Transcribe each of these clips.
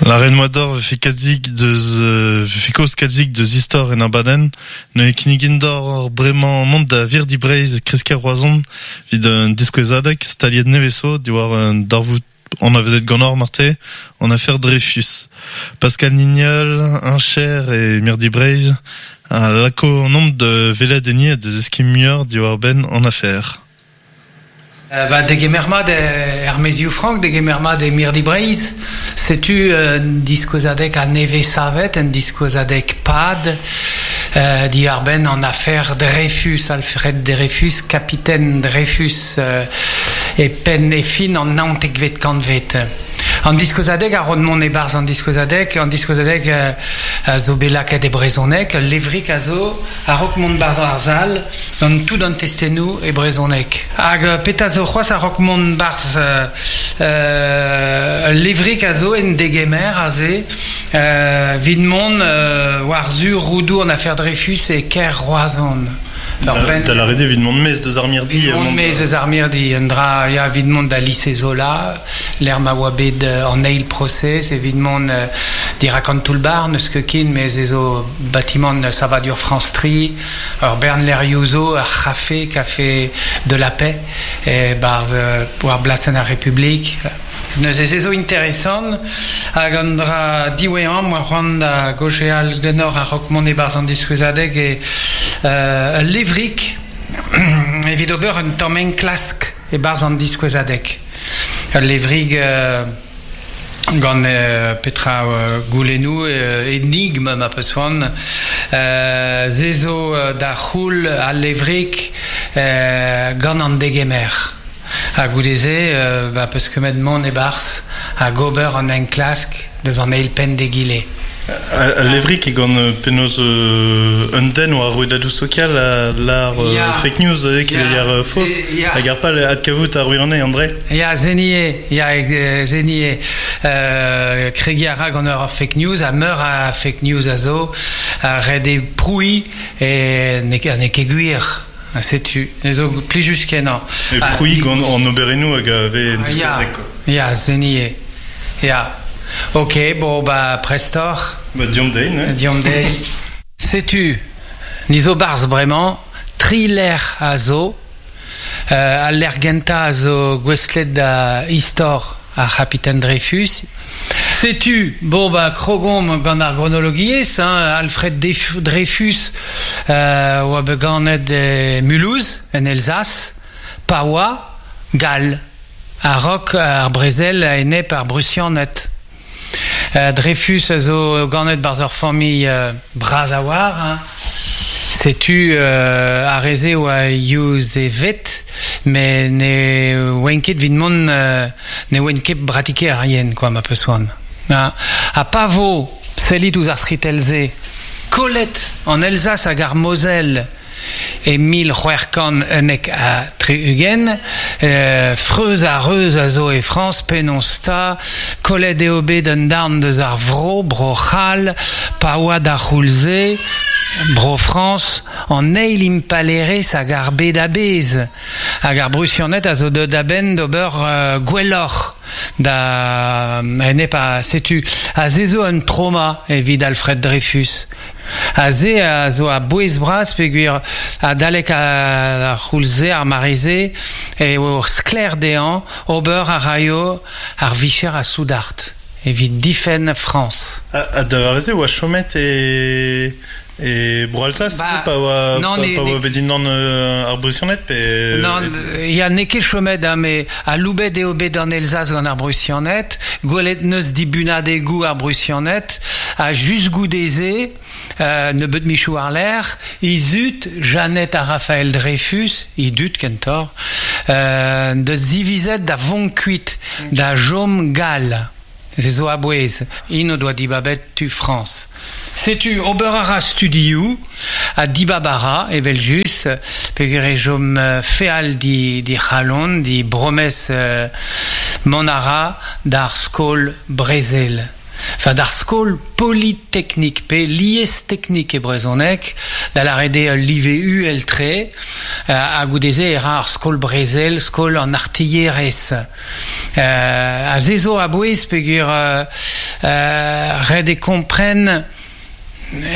Lâret 'moa deoc'h 'vefe kalzik deus 'vefe kaoz kalzik deus istor en abadenn. Neuze kinnigin deoc'h bremañ mont da Virdi Breizh Kresker Roazhon evit un diskouezadeg staliet nevez zo diwar un darvoud anavezet ganeoc'h marteze, an afer Dreyfus. Pascal Nignol, heñcher e Mirdi Breizh, a lako an da welet enni ha da zeskiñ muioc'h diwar-benn an afer. Ba degemer mat er maezioù frank, degemer mat e Mirdi Breizh. Setu un diskouezadeg a-nevez savet, un diskouezadeg pad diàr-benn an afer Dreyfus, Alfred Dreyfus, kapiten Dreyfus e penn e fin an naontekvet kantved. An diskouezadeg a ro mont e-barzh an diskouezadeg. An diskouezadeg a zo bet lakaet e brezhoneg. Ul levrig a zo a-raok mont 'barzh ar sal gant tout an testennoù e brezhoneg. Hag petra zo c'hoazh a-raok mont 'barzh ul levrig a zo en degemer aze evit mont war-zu roudoù an afer Dreyfus e kêr Roazhon. Da lâret eo evit mont maez deus ar mirdi. Mont maez eus ar mirdi, un dra ya evit mont da lise Zola, lec'h ma oa bet an eil prosez, evit mont dirak an toull-bac'h, n'eus ket ken, met ez zo batimant savadur France Tri, ur bern lec'hioù zo, ur c'hafe, Café de la Paix, e-barzh war blasenn ar Republik. Neuze se zo interesant hag an dra diwezhañ 'moa c'hoant da gaozeal ganeoc'h a-raok mont e-barzh an diskouezadeg eo ul levrig evit ober un tamm enklask e-barzh an diskouezadeg. Ul levrig gant petra goulennoù enigm ma peus c'hoant. Se zo da c'houl al levrig gant an degemer. Ha goude-se ba 'peus kemet mont e-barzh hag ober an enklask deus an eil penn d'egile. Al levrig eo gant penaos un den war rouedadoù sokial a lâr fake news keleier faos hag ar pal adkavout ar wirionez André. Ya, se eo, ya, se eo. Kregiñ a ra gant ur fake news ha meur a fake news a zo. Ret eo prouiñ e n'eo ket gwir. Ha setu, ez zo plijus-kenañ. E prouiñ gant an oberennoù hag a vez en diskouezadeg, quoi. Ya, se ni eo. Ya. Ok, bon, bah, prestoc'h. Bah, deomp dezhi, ne? Deomp dezhi. Setu, ni zo 'barzh bremañ, tri lec'h a zo. Al lec'h gentañ a zo gouestlet da istor ar c'hapiten Dreyfus. Setu, bon bah krogomp gant ar gronologiezh, hein, Alfred Dreyfus oa bet ganet e Mulhouse, en Elzas, pa oa gall, a-raok ar brezel a-enep ar Brusianed. Dreyfus a zo ganet 'barzh ur familh bras a-walc'h, hein. Setu ar re-se oa Yuzeved, met ne oant ket evit mont ne oant ket bratikerien kwa ma peus c'hoant. Ha pa vo sellit ouzh ar skritell-se kollet an Elzas hag ar Moselle E 1671, freuz ha reuz a zo e Frañs, penaos 'ta, kollet eo bet un darn deus ar vro, Bro-C'hall, pa oa d'ar c'houlz-se, Bro-Frañs, an eil impalaerezh hag ar bed a-bezh. Hag ar Brusianed a zo deuet a-benn d'ober gwelloc'h da enep ha setu aze zo un trauma evit Alfred Dreyfus. Ha se a zo a-bouez-bras peogwir adalek ar c'houlz-se, ar mare-se, eo sklaer dezhañ ober a raio ar vicher a soudard evit difenn Frañs. Ha da vare-se e oa chomet e e Bro-Alsas Ba, pa oa non, pa, ne, pa oa ne, bet dindan ar Brusianed pe non, ya n'eo ket chomet hein, met aloubet eo bet an Elzas gant ar Brusianed, gwelet 'neus dibunadegoù ar Brusianed, Ha just goude-se, nebeut michoù war-lerc'h, he zud, Jeannette ha Raphaël Dreyfus, he dud kentoc'h, deus divizet da vont kuit, da chom gall. Se zo a-bouez. Int o doa dibabet tu Frañs. Setu, ober a ra studioù ha dibab a ra, evel-just, peogwir e chom feal d'he c'halon, d'he bromes mont a ra d'ar skol brezel. Enfin, d'ar skol politeknik pe liesteknik e brezhoneg, da lâret eo ul live uhel-tre, ha goude-se e ra ar skol brezel, skol an artilherezh. Ha se zo a-bouez peogwir Ret eo kompren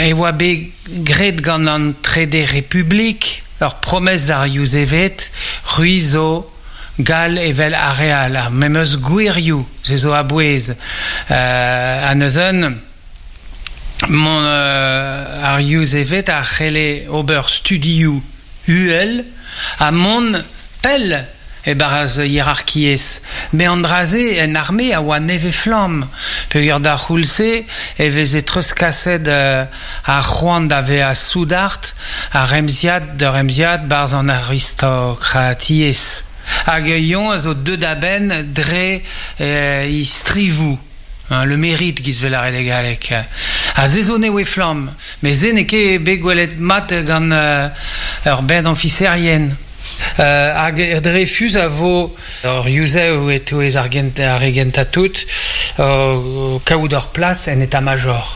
e oa bet graet gant an Trede Republik ur promes d'ar Yuzeved, c'hwi zo gall evel ar re all, ar memes gwirioù, se zo a-bouez. Ha neuze mont ar Yuzeved a c'helle ober studioù uhel ha mont pell e-barzh hierarkiezh. Met an dra-se en arme a oa nevez-flamm peogwir d'ar c'houlz-se e veze treuzkaset ar c'hoant da vezañ soudard a remziad da remziad 'barzh an aristokratiezh. Hag eñ a zo deuet a-benn dre e strivoù. Le mérite giz 'vel lâret e galleg. Ha se zo nevez-flamm. Met se n'eo ket bet gwelet mat gant ur bern ofiserien. Hag Dreyfus a vo ur yuzev e-touez ar re gentañ tout o kaout ur plas en état-major.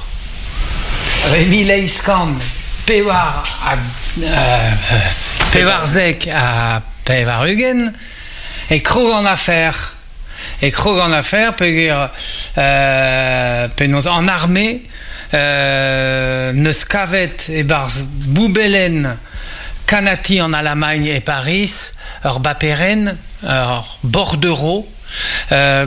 E 1894 e krog an afer. E krog an afer peogwir penaos an arme 'neus kavet e-barzh boubellenn kannati an Alamagn e Pariz ur baperenn, ur bordereau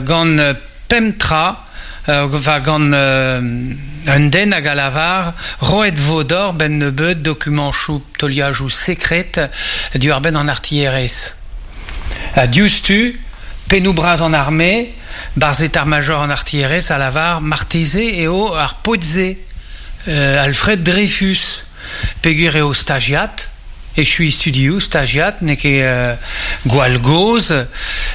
gant pemp tra, va gant un den hag a lavar roet vo deoc'h 'benn nebeut dokumañchoù teuliajoù sekred diwar-benn an artilherezh. Diouzhtu, pennoù bras an arme, barzh etar-major an artilherezh a lavar marteze eo ar paotr-se, Alfred Dreyfus, peogwir eo stajiad, echuiñ studioù stajiad, n'eo ket gwall gozh,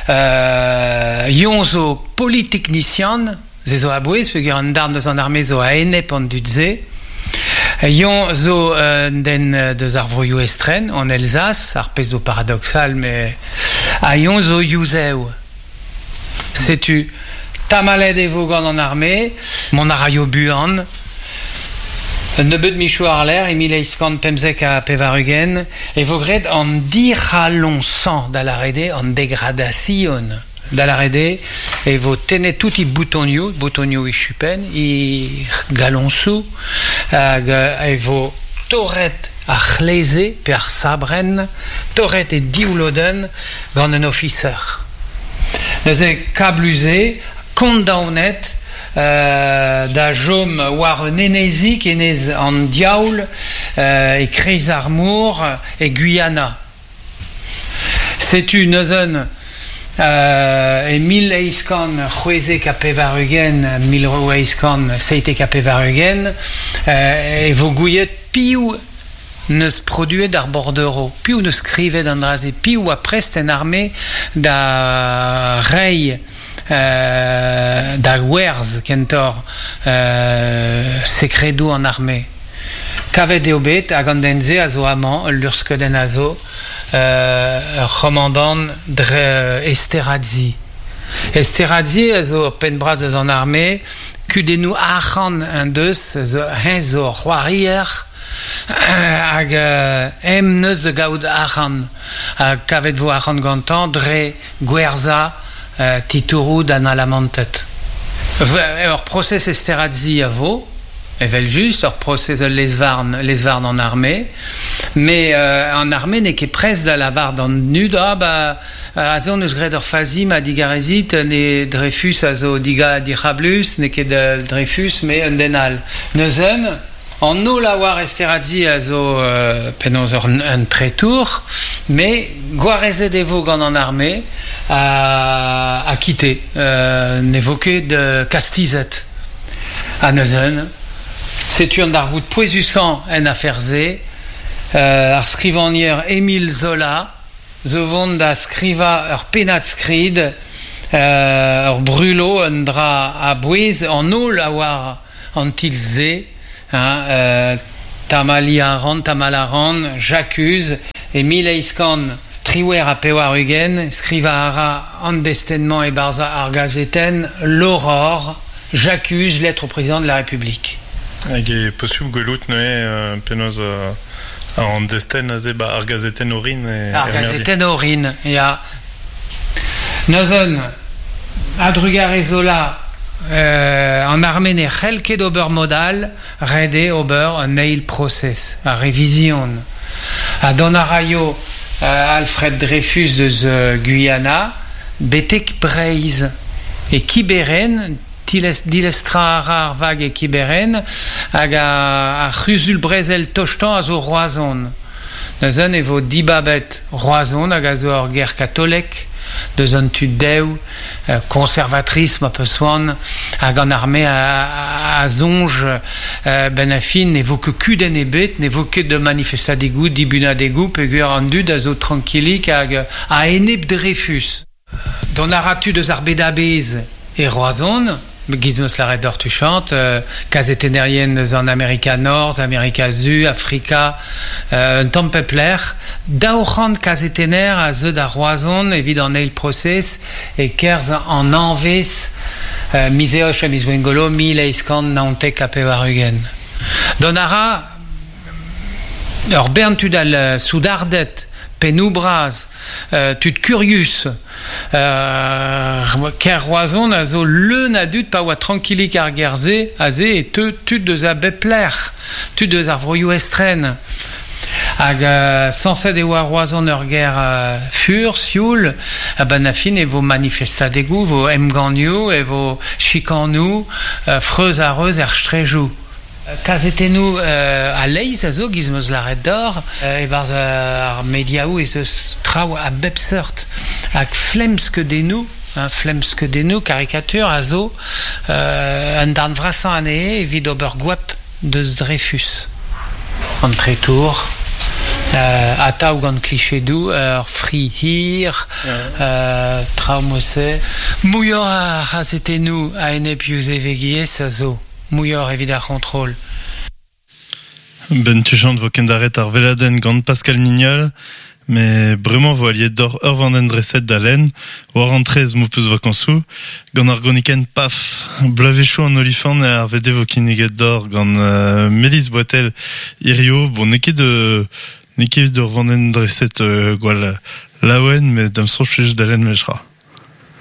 eñ zo politeknisian, Se zo a-bouez peogwir an darn deus an arme zo a-enep an dud-se. Eñ zo un den deus ar vroioù estren, an Elzas, ar pezh zo paradoksal, met ha eñ zo yuzev. Setu, tamallet e vo gant an arme, mont a raio buan. Un nebeud michoù àr-lerc'h, e 1895, e vo graet an dic'haloñsañ, da lâret eo an degradasion. Da lâret eo e vo tennet tout he boutonioù, boutonioù he chupenn, he galoñsoù, hag e vo torret ar c'hleze pe ar sabrenn, torret e div lodenn gant un ofiser. Neuze kablus-se, kondaonet da chom war un enezig, enez an diaoul, e-kreiz ar mor, e Guyana. Setu neuze e 1896, 1897 e vo gouiet piv 'neus produet ar bordereau, piv 'neus skrivet an dra-se, piv oa prest en arme da reiñ da werzh kentoc'h sekredoù an arme. Kavet eo bet hag an den-se a zo amañ, ul luc'hskeudenn a zo, ur c'homandant dre Esterhazy. Esterhazy a zo ur penn-bras eus an arme, kudennoù arc'hant en deus, eñ zo ur c'hoarier hag eñ 'neus da gaout arc'hant. Ha kavet vo arc'hant gantañ dre gwerzhañ titouroù d'an Alamanted. Ur prosez Esterhazy a vo, evel-just, ur prosez ul lez-varn, lez-varn an arme, met an arme n'eo ket prest da lavar d'an dud ah ba aze hon eus graet ur fazi ma digarezit, ne Dreyfus a zo dic'hablus, n'eo ket Dreyfus met un den all. Neuze An holl a oar Esterhazy a zo penaos un treitour, met gwarezet e vo gant an arme ha quitté. Ne vo ket kastizet. Ha neuze, setu an darvoud pouezusañ en afer-se, ar skrivagner Émile Zola zo vont da skrivañ ur pennad-skrid, ur brulo, un dra a-bouez, an holl a oar An tilh-se, hein, tamalliñ a ran, tamall a ran, j'accuse, e 1898, skrivañ a ra an destenn-mañ e-barzh ar gazetenn L'Aurore, J'accuse, lettre au président de la République. Hag eo posubl gwelout neuze penaos an destenn aze ba ar gazetenn orin e Ar gazetenn orin, ya. Neuze, a-drugarez Zola, An arme ne c'hell ket ober mod all, ret eo ober un eil prosez, ar revizion. Ha dont a raio Alfred Dreyfus deus Guyana betek Breizh. E Kiberen, dilestrañ a ra ar vag e Kiberen hag ar c'huzul-brezel tostañ a zo Roazhon. Neuze e vo dibabet Roazhon hag a zo ur gêr katolek deus an tu dev, conservatrice ma peus c'hoant, hag an arme a soñj benn ar fin ne vo ket kudenn ebet, ne vo ket manifestadegoù, dibunadegoù peogwir an dud a zo trankilik hag a-enep Dreyfus. Dont a ra tud eus ar bed a-bezh e Roazhon, giz 'meus lâret deoc'h tuchant, kazetennerien eus an Amerika Norzh, Amerika Su, Afrika, un tamm pep lec'h. 200 kazetenner a zeu da Roazhon evit an eil prosez e-kerzh an hañvezh miz Eost ha miz Gwengolo 1899. Dont a ra ur bern tud all soudarded, pennoù bras, tud kurius. Kêr Roazhon a zo leun a dud pa oa trankilik ar gêr-se, aze e teu tud eus a bep lec'h, tud eus ar vroioù estren. Hag sañset e oa Roazhon ur gêr fur, sioul, a-benn ar fin e vo manifestadegoù, vo emgannioù, e vo chikanoù, freuz ha reuz er straejoù. Kazetennoù a-leizh a zo, giz 'm eus lâret deoc'h, e-barzh ar mediaoù ez eus traoù a bep seurt hag flemmskeudennoù, flemmskeudennoù, karikatur a zo un darn vrasañ anezhe evit ober goap deus Dreyfus. An treitour, atav gant klichedoù, ur fri hir, traoù mod-se. Muioc'h a c'hazetennoù a-enep Yuzevegiezh a zo. Muioc'h evit ar c'hontrol. Ben tuchant vo kendaret ar veladenn gant Pascal Nignol, met bremañ vo aliet deoc'h ur vandenn dreset da lenn war an traezh m'ho peus vakañsoù gant ar gronikenn Paf. Bloavezhioù an olifant eo ar VD vo kinniget deoc'h gant Melise Boitel hirio. Bon, n'eo ket n'eo ket ur vandenn dreset gwall laouen, met da'm soñj plij da lenn memestra.